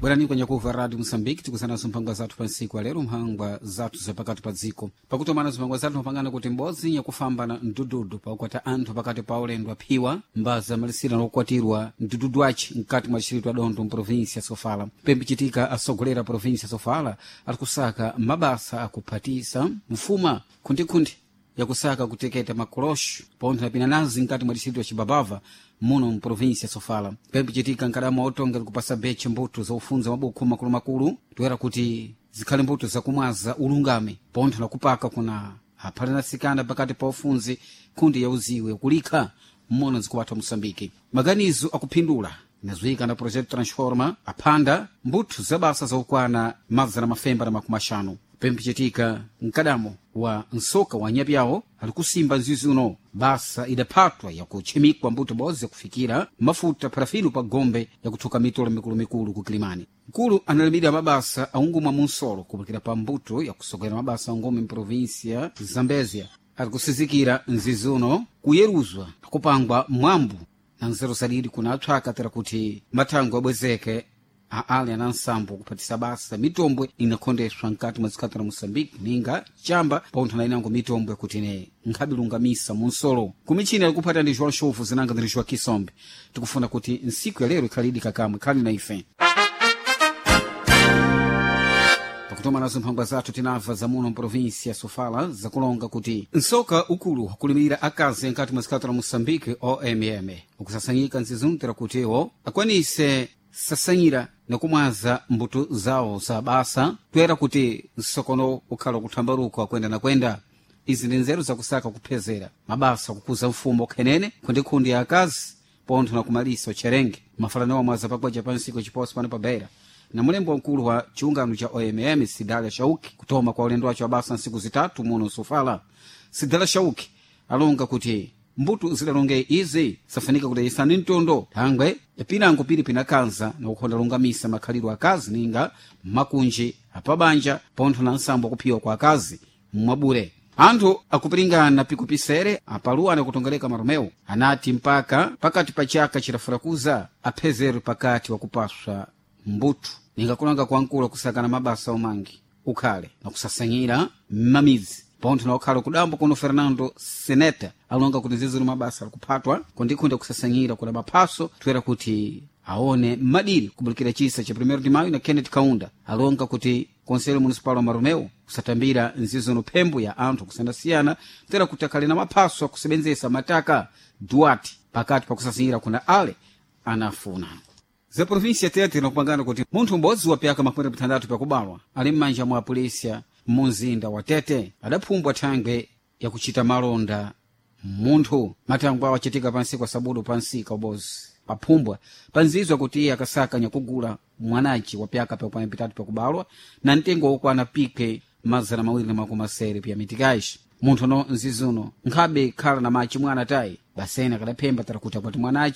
Bwerani kwenye kuva Radio Moçambique, tikusanaso mphangwa zathu pa ntsiku alero, mphangwa zathu zapakati pa dziko. Pakutomana zimphangwa zathu mapangana kuti m'bodzi nyakufambana mdududu pakukwata anthu pakati pa ulendo aphiwa mbaza malisira lokwatirwa mdududu aci mkati mwa distrito adondo mprovinsia Sofala. Pembichitika asogolera provinsia Sofala ali kusaka mabasa akuphatisa mfuma khundikhunde yakusaka kuteketa makolosho pontho na pinanazi mkati mwa distrito ya Chibabava muno mprovinsia Sofala. Pembichitika nkadama otonga likupasa beche mbuto zaufunza mabukhu makulumakulu toera kuti zikhale mbuto zakumwaza ulungame pontho na kupaka kuna aphalanasikana pakati pa ufunzi khundi ya uziwe kulikha mmono zikuwatha Moçambike. Maganizo akuphindula inazuika na Projeto Transforma aphanda mbuthu za basa zaukwana 550. Pempichitika mkadamo wa nsoka wa nyapyawo ali kusimba nzizi uno basa idaphatwa yakutchimikwa mbuto bodzi yakufikira mafuta parafino pa gombe yakuthuka mitolo mikulumikulu ku Kilimani. Mkulu analimira mabasa aungumwa munsolo kupikira pa mbuto yakusogolera mabasa aungumi mprovinsia Zambezia ali kusizikira nzizi uno kuyeruzwa kupangwa mwambu na nzeru zadidi kuna atswaka tera kuti mathango abwezeke aali ana nsambo kuphatisa basa mitombwe inakhondeswa mkati mwa zikhato la Moçambique ninga chamba pontho na inango mitombwe kuti ne nkhabilungamisa munsolo. Kumichini alikuphata ndi João Chovu zinanga ndi João Kisombe. Tikufuna kuti ntsiku ya lero ikhalidi kakamwe khali na ife. Pakutoma nazo mphangwa zathu tinamva zamuno mprovinsia Sofala zakulonga kuti nsoka ukulu wakulimirira akazi nkati mwa zikhato la Moçambique OMM ukusasanyika nzizuntira kutiwo akwanise sasanyira nakumwaza mbuto zawo za basa toera kuti msokono ukhala kuthambaluka kwenda na kwenda. Izi ndi nzeru zakusaka kuphezera mabasa kukuza mfumo khenene khundikhundi ya akazi pontho na kumalisa utcherenge mafalano wamwaza pakwaca pa nsiku chiposo pano pa Beira na mulembo mkulu wa chiungano cha OMM Sidalia Shauki kutoma kwa ulendo wacho wabasa nsiku zitatu muno Sofala. Sidalia Shauki alonga kuti mbuto zidalonge izi safanika kuti isani mtondo thangwe pinango pili pinakhanza na kukhonda lungamisa makhalidwe akazi ninga makunji apabanja pontho na nsambo kuphiwa kwa akazi mwabure. Anthu akupiringana pikupisere apaluwa kutongeleka maromeo anati mpaka pakati pa chaka chirafurakuza aphezero pakati wakupaswa mbuto ningakulanga kwankulu kusakana mabasa omangi ukhale na kusasanyira mmamidzi pontho na ukhala kudambo kuno. Fernando Seneta alonga kuti ziziri mabasa alikuphatwa kundikhunda kusasanyira kuna maphaso toera kuti aone madiri kubulikira chisa cha 1 de Maio na Kenneth Kaunda alonga kuti Conselho Municipal wa Maromeu kusatambira nzizono phembo ya anthu kusiyanasiyana toera kuti akhale na maphaso akusebenzesa mataka Duarte pakati pakusasanyira kuna ale anafuna. Za província Tete inakupangana kuti munthu m'bodzi wa pyaka 60 pakubalwa ali m'manja mwa polisia munzinda wa Tete adaphumbwa thangwe yakuchita malonda munthu. Mathangwe awo achitika pansi kwa sabudu pansika ubozi paphumbwa panzizwa kuti iye akasaka nyakugula mwanaci wa pyaka pyakwana pitatu pakubalwa na mtengo wokwana pike 270 pya mitikaci. Munthu no nzizuno nkhabe khala na machi mwana tayi basene akadaphemba tara kuti akwati mwanaci.